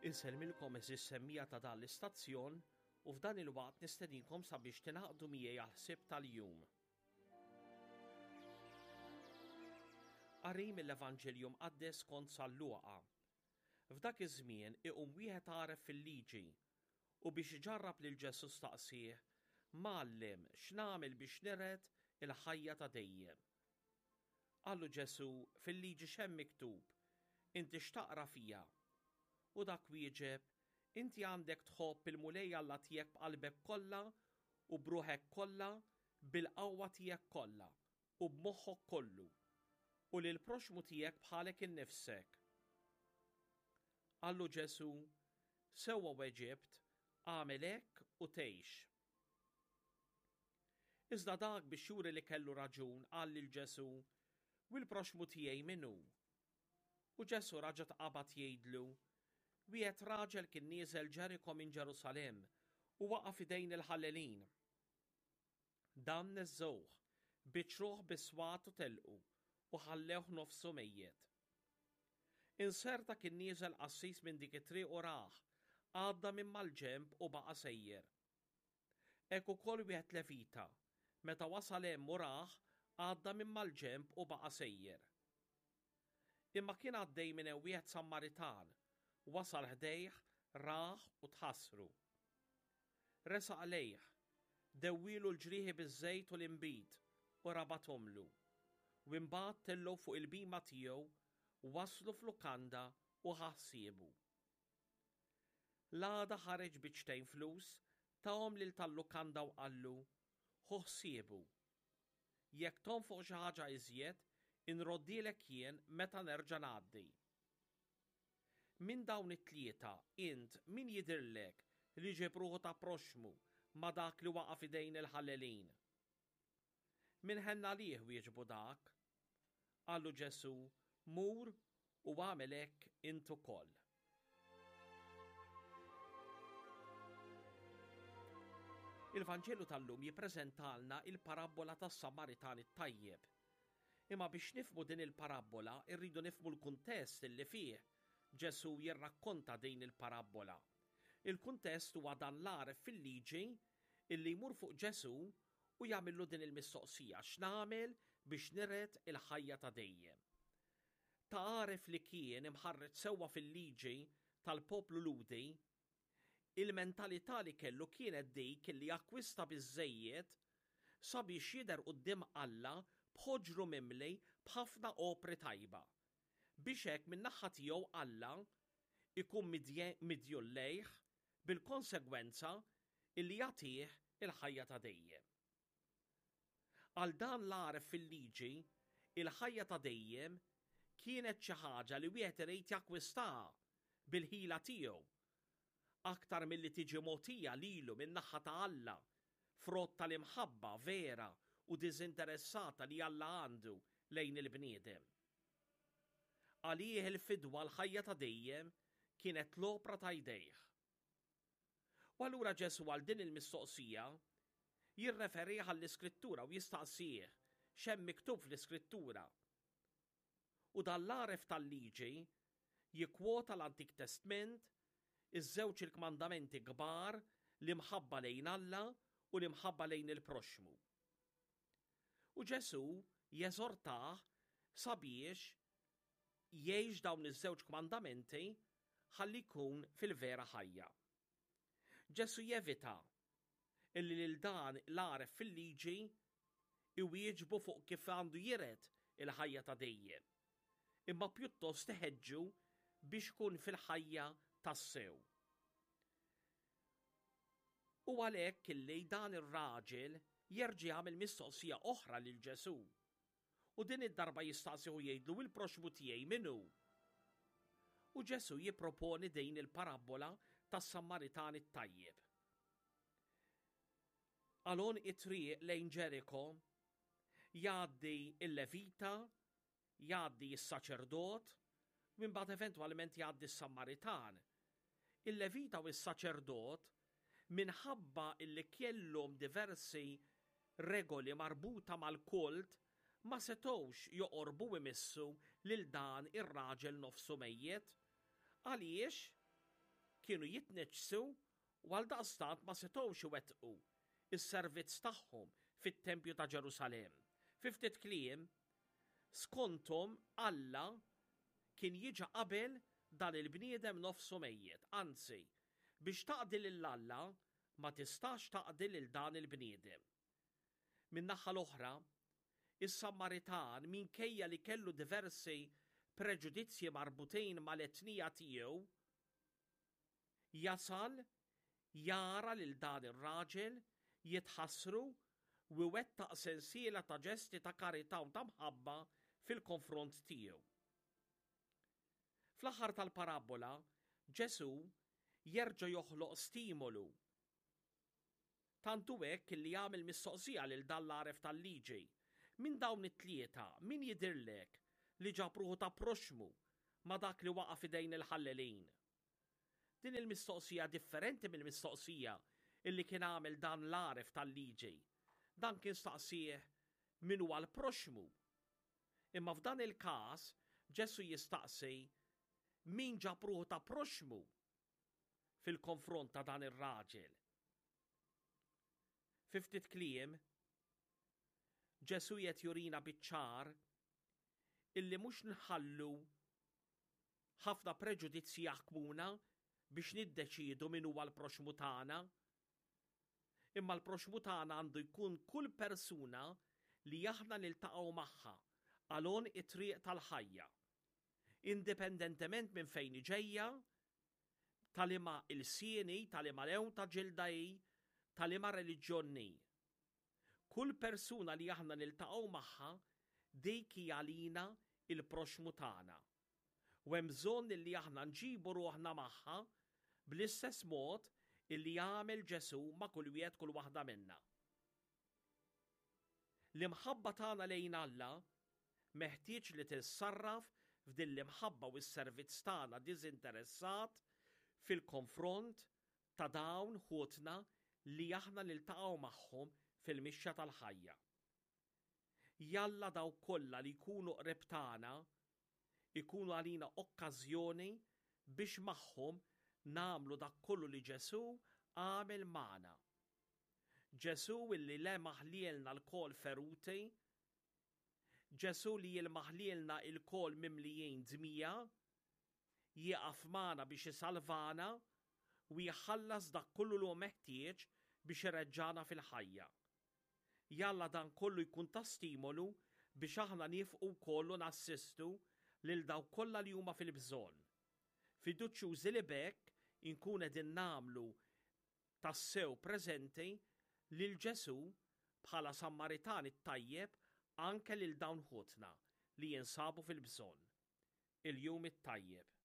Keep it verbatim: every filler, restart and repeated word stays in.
Insellmilkom għeżież semmiegħa ta' dan l-istazzjon u f'dan il-waqt nistedinkom sabiex tingħaqdu miegħi għall-ħsieb tal-jum. Qari mill-Evanġelju Mqaddes skont San Luqa. F'dak iż-żmien iqum wieħed għaref fil-liġi u biex iġarrab lil Ġesù staqsieh, Mgħallem, x'nagħmel biex niret il-ħajja ta' dejjem? Qallu Ġesù, Fil-liġi x'hemm miktub? Inti x'taqra fiha? U dak wieġeb, Inti għandek tħobb il-Mulej Alla tiegħek b'qalbek kollha u b'ruħek kollha, bil-qawwa tiegħek kollha u b'moħħok kollu, u lill-proxxmu tiegħek bħalek innifsek. Qallu Ġesù, Sewwa weġibt, agħmel hekk u tgħix. Iżda dak biex juri li kellu raġun qal lil Ġesù, U l-proxxmu tiegħi min hu? U Ġesù raġa' tqabad jgħidlu, Wieħed raġel kien nieżel Ġeriko minn Ġerusalemm u waqa' f'idejn il-ħallelin. Dan neżżgħuh, biċċruh bis-swat u telqu, u ħallewh nofsu mejjet. Inserta kien nieżel qassis minn dik it-triq u rah, għadda minn mal-ġenb u baqa' sejjer. Hekk ukoll wieħed Levita, meta wasal hemm u rah, għadda minn mal-ġenb u baqa' sejjer. Imma kien għaddej minn hemm wieħed Sammaritan, wasal ħdejh, rah u tħassru. Resaq lejh, dewwielu l-ġrieħi biż-żejt u l-inbid u rabathomlu. U imbagħad tellgħu fuq il-bhima tiegħu, wasslu f'lukanda u ħa ħsiebu. L-għada ħareġ biċċtejn flus, tahom lil tal-lukanda u qallu, Ħu ħsiebu. Jekk tonfoq xi ħaġa iżjed, inroddhielek jien meta nerġa' ngħaddi. Minn dawn it-tlieta, int min jidhirlek li ġieb ruħu ta' proxxmu ma' dak li waqa' f'idejn il-ħallelin? Min ħenn għalih, wieġbu dak. Qallu Ġesù, Mur u agħmel hekk int ukoll. Il-Vanġelu tal-lum jippreżentalna il-parabbola tas-Samaritan it-tajjeb. Imma biex nifhmu din il-parabbola rridu nifhmu l-kuntest li fih Ġesù jirrakkonta din il-parabbola. Il-kuntest huwa dan l-għaref fil-liġi illi jmur fuq Ġesù u jagħmillu din il-mistoqsija, x'nagħmel biex niret il-ħajja ta' dejjem? Ta' għaref li kien imħarreġ sewwa fil-liġi tal-poplu Lhudi, il-mentalità li kellu kienet dik li jakkwista biżżejjed sabiex jidher quddiem Alla b'ħoġru mimli b'ħafna opri tajba, biex hekk min-naħa tiegħu Alla jkun midjun lejh bil-konsegwenza illi jagħtih il-ħajja ta' dejjem. Għal dan l-għaref fil-liġi, il-ħajja ta' dejjem kienet xi ħaġa li wieħed irid jakkwistaha bil-ħila tiegħu, aktar milli tiġi mogħtija lilu min-naħa ta' Alla, frott tal-imħabba vera u diżinteressata li Alla għandu lejn il-bniedem. Għalih il-fidwa l-ħajja ta' dejjem kienet l-opra ta' jdejh. U allura Ġesù għal din il-mistoqsija jirreferih għall-Iskrittura u jistaqsih x'hemm miktub fl-Iskrittura. U dan l-għaref tal-liġi jikkwota l-Antik Testment, iż-żewġ il-kmandamenti kbar, l-imħabba lejn Alla u l-imħabba lejn il-proxxmu. U Ġesù jeżortah sabiex jgħix dawn iż-żewġ kmandamenti ħalli jkun fil-vera ħajja. Ġesù jevita illi lil dan l-għaref fil-liġi iwieġbu fuq kif għandu jiret il-ħajja ta' dejjem, imma pjuttost iħeġġu biex ikun fil-ħajja tassew. U għalhekk illi dan ir-raġel jerġa' jagħmel mistoqsija oħra lil Ġesù. U din id-darba jistaqsih u jgħidlu il-proxxmu tiegħi min hu? U Ġesù jipproponi din il-parabbola tas-Sammaritan it-tajjeb. Għal għonq it-triq lejn Ġeriko jgħaddi il-Levita, jgħaddi s-saċerdot, u imbagħad eventwalment jgħaddi s-Sammaritan. Il-Levita u s-saċerdot minħabba illi kellhom diversi regoli marbuta mal-kult ma setgħux joqorbu imissu lil dan ir-raġel nofsu mejjet. Għaliex? kienu jitniġġsu u għaldaqstant ma setgħux iwettqu is-servizz tagħhom fit-tempju ta' Ġerusalemm. Fi ftit kliem, skonthom Alla kien jiġa qabel dan il-bniedem nofsu mejjet, anzi, biex taqdi lil Alla ma tistax taqdi lil dan il-bniedem. Min-naħa l-oħra, is-Samaritan, minkejja li kellu diversi preġudizzji marbutin mal-etnija tiegħu, jasal jara lil dan ir-raġel, jitħassru u jwettaq sensiela ta' ġesti ta' karità u ta' mħabba fil-konfront tiegħu. Fl-aħħar tal-parabbola, Ġesù jerġa' joħloq stimolu. Tant hu hekk li jagħmel mistoqsija lil dan l-għaref tal-liġi. Minn dawn it-tlieta, min jidhirlek li ġab ruħu ta' proxmu ma' dak li waqa' f'idejn il-ħallelin? Din il-mistoqsija differenti mill-mistoqsija illi kien għamel dan l-għaref tal-liġi. Dan kien staqsih min huwa l-proxmu. Imma f'dan il-każ Ġesù jistaqsi min ġab ruħu ta' proxmu fil-konfront ta' dan ir-raġel. Fi ftit kliem, Ġesù qed jurina biċ-ċar illi mhux nħallu ħafna preġudizzji jaħkmuna biex niddeċiedu min huwa l-proxmu tagħna. Imma l-proxmu tagħna għandu jkun kull persuna li aħna niltaqgħu magħha għal it-triq tal-ħajja. Indipendentement minn fejn ġejja, ta' liema ilsien hi, ta' liema lewn ta' ġilda hi, ta' liema reliġjon hi. Kull persuna li aħna niltaqgħu magħha dik hija għalina il-proxmu tagħna. U hemm bżonn li aħna nġibu ruħna magħha bl-istess mod illi jagħmel Ġesù ma' kull wieħed, kull waħda minna. L-imħabba tagħna lejn Alla meħtieġ li tissarraf f'din l-imħabba u s-servizz tagħna diżinteressat fil-konfront ta' dawn ħutna li aħna niltaqgħu magħhom fil-mixja tal-ħajja. Jalla dawk kollha li jkunu qrib tagħna ikunu għalina okkażjoni biex magħhom nagħmlu dak kollu li Ġesù għamel magħna. Ġesù illi lemaħ lilna lkoll feruti, Ġesù li jilmaħ lilna lkoll mimlijin dmija, jieqaf magħna biex isalvana u jħallas dak kollu li hu meħtieġ biex ireġġana fil-ħajja. Jalla dan kollu jkun ta' stimolu biex aħna nifqu wkoll u nassistu lil dawk kollha li huma fil-bżonn. Fiduċjużi li b'hekk inkun qegħdin nagħmlu tassew preżenti lil Ġesù bħala Sammaritan it-tajjeb anke lil dawn ħutna li jinsabu fil-bżonn. Il-jum it-tajjeb.